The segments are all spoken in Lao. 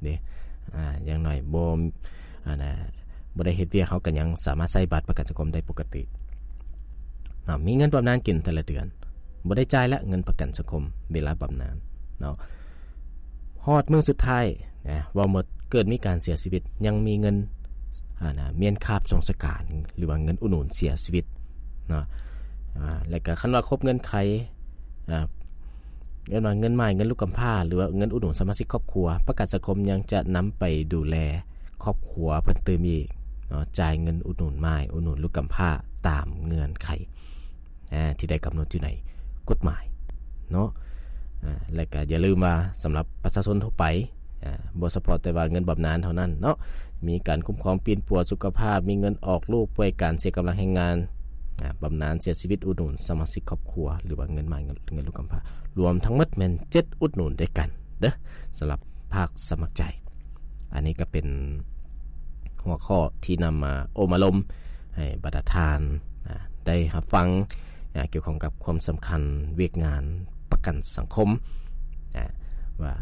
ເດ້ ອາ ຢ່າງໜ້ອຍບໍ່ ອັນນ່າ ບໍ່ໄດ້ເຮັດວຽກ ເຮົາກໍຍັງສາມາດໃຊ້ບັດປະກັນສັງຄົມໄດ້ປົກກະຕິເນາະ. ມີເງິນບຳນານກິນແຕ່ລະເດືອນ ບໍ່ໄດ້ຈ່າຍລະເງິນປະກັນສັງຄົມເວລາບຳນານເນາະ. ຮອດມື້ສຸດທ້າຍນະ ເວົ້າໝົດ ເກີດມີການເສຍຊີວິດ ຍັງມີເງິນ ອັນນ່າ ມ້ຽນຄາບສົ່ງສະການ ຫຼືວ່າເງິນອຸດໜູນເສຍຊີວິດເນາະ. ອາ ແລະກະຄັນວ່າຄົບເງື່ອນໄຂ ອາ ເອີ້ນວ່າເງິນໝ້າຍ ເງິນລູກກຳພ້າ ຫຼືວ່າເງິນອຸດໜູນສະມາຊິກຄອບຄົວ ປະກັນສັງຄົມຍັງຈະນຳໄປດູແລຄອບຄົວເພິ່ນຕື່ມອີກເນາະ, ຈ່າຍເງິນອຸດໜູນໝ້າຍ ອຸດໜູນລູກກຳພ້າຕາມເງື່ອນໄຂ ອາ ທີ່ໄດ້ກຳນົດຢູ່ໃນກົດໝາຍເນາະ. ອາ ແລະກະຢ່າລືມວ່າ ສຳລັບປະຊາຊົນທົ່ວໄປ ອາ ບໍ່ສະເພາະແຕ່ວ່າເງິນບຳນານເທົ່ານັ້ນເນາະ, ມີການຄຸ້ມຄອງປິ່ນປົວສຸຂະພາບ, ມີເງິນອອກລູກ, ປ່ວຍການ, ເສຍກຳລັງແຮງງານ, ອາ ບຳນານເສຍຊີວິດ, ອຸດໜູນສະມາຊິກຄອບຄົວ ຫຼືວ່າເງິນໝ້າຍ ເງິນ ເງິນລູກກຳພ້າ, ລວມທັງໝົດແມ່ນເຈັດອຸດໜູນດ້ວຍກັນເດີ ສຳລັບພາກສະໝັກໃຈ. ອັນນີ້ກໍເປັນຫົວຂໍ້ທີ່ນຳມາໂອ້ມາລົມໃຫ້ບັນດາທ່ານ ອາ ໄດ້ຮັບຟັງ ອາ ກ່ຽວຂ້ອງກັບຄວາມສຳຄັນວຽກງານປະກັນສັງຄົມ ອາ ວ່າ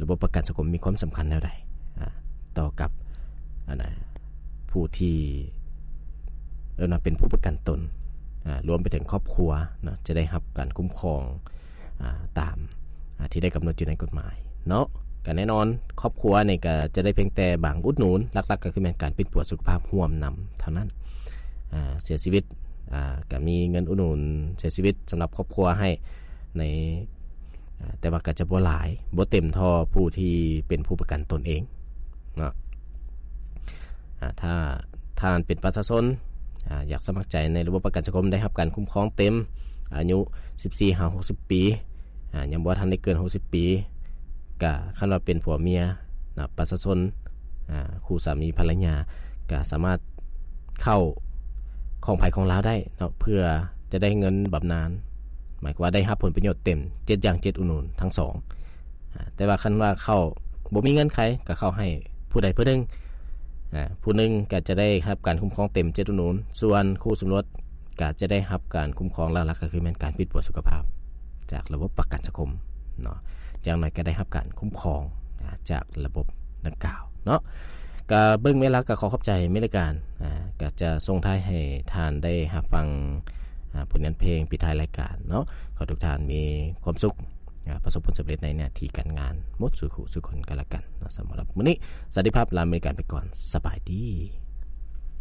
ລະບົບປະກັນສັງຄົມມີຄວາມສຳຄັນແນວໃດ ອາ ຕໍ່ກັບ ອັນນ່າ ຜູ້ທີ່ ເອີ້ນວ່າເປັນຜູ້ປະກັນຕົນ ອາ ລວມໄປເຖິງຄອບຄົວເນາະ ຈະໄດ້ຮັບການຄຸ້ມຄອງ ອາ ຕາມ ອາ ທີ່ໄດ້ກຳນົດຢູ່ໃນກົດໝາຍເນາະ. ກໍແນ່ນອນ ຄອບຄົວນີ້ກໍຈະໄດ້ພຽງແຕ່ບາງອຸດໜູນ, ຫຼັກໆກໍຄືແມ່ນການປິ່ນປົວສຸຂະພາບຮ່ວມນຳເທົ່ານັ້ນ. ອາ ເສຍຊີວິດ ອາ ກໍມີເງິນອຸດໜູນເສຍຊີວິດສຳລັບຄອບຄົວໃຫ້ໃນ ອາ ແຕ່ວ່າກໍຈະບໍ່ຫຼາຍ ບໍ່ເຕັມເທົ່າຜູ້ທີ່ເປັນຜູ້ປະກັນຕົນເອງເນາະ. ອາ ຖ້າທ່ານເປັນປະຊາຊົນ ອາ ຢາກສະໝັກໃຈໃນລະບົບປະກັນສັງຄົມ ໄດ້ຮັບການຄຸ້ມຄອງເຕັມ ອາຍຸສິບສີ່ຫາຫົກສິບປີ ອາ ຍັງບໍ່ທັນໄດ້ເກີນຫົກສິບປີ ກະຄັນວ່າເປັນຜົວເມຍນະ ປະຊາຊົນ ອາ ຄູ່ສາມີພັນລະຍາ ກະສາມາດເຂົ້າຂອງໃຜຂອງລາວໄດ້ເນາະ ເພື່ອຈະໄດ້ເງິນບຳນານ ໝາຍຄວາມວ່າໄດ້ຮັບຜົນປະໂຫຍດເຕັມເຈັດຢ່າງ ເຈັດອຸດໜູນທັງສອງ. ອາ ແຕ່ວ່າຄັນວ່າເຂົ້າບໍ່ມີເງື່ອນໄຂ ກໍເຂົ້າໃຫ້ຜູ້ໃດຜູ້ໜຶ່ງ ອາ ຜູ້ໜຶ່ງກໍຈະໄດ້ຮັບການຄຸ້ມຄອງເຕັມເຈັດອຸດໜູນ, ສ່ວນຄູ່ສົມລົດກໍຈະໄດ້ຮັບການຄຸ້ມຄອງຫຼັກໆ ກໍຄືແມ່ນການປິ່ນປົວສຸຂະພາບຈາກລະບົບປະກັນສັງຄົມເນາະ, ຢ່າງໜ້ອຍກໍໄດ້ຮັບການຄຸ້ມຄອງ ອາ ຈາກລະບົບດັ່ງກ່າວເນາະ. ກໍເບິ່ງເວລາກໍຂໍຂອບໃຈແມ່ນລາຍການ ອາ ກໍຈະສົ່ງທ້າຍໃຫ້ທ່ານໄດ້ຮັບຟັງ ອາ ຜົນງານເພງປິດທ້າຍລາຍການເນາະ. ຂໍໃຫ້ທຸກທ່ານມີຄວາມສຸກ ອາ ປະສົບຜົນສຳເລັດໃນໜ້າທີ່ການງານໝົດສູ່ຄູ່ສູ່ຄົນກັນລະກັນເນາະ. ສຳລັບມື້ນີ້ ສະຫວັດດີພາບ ລາແມ່ນລາຍການໄປກ່ອນ. ສະບາຍດີ.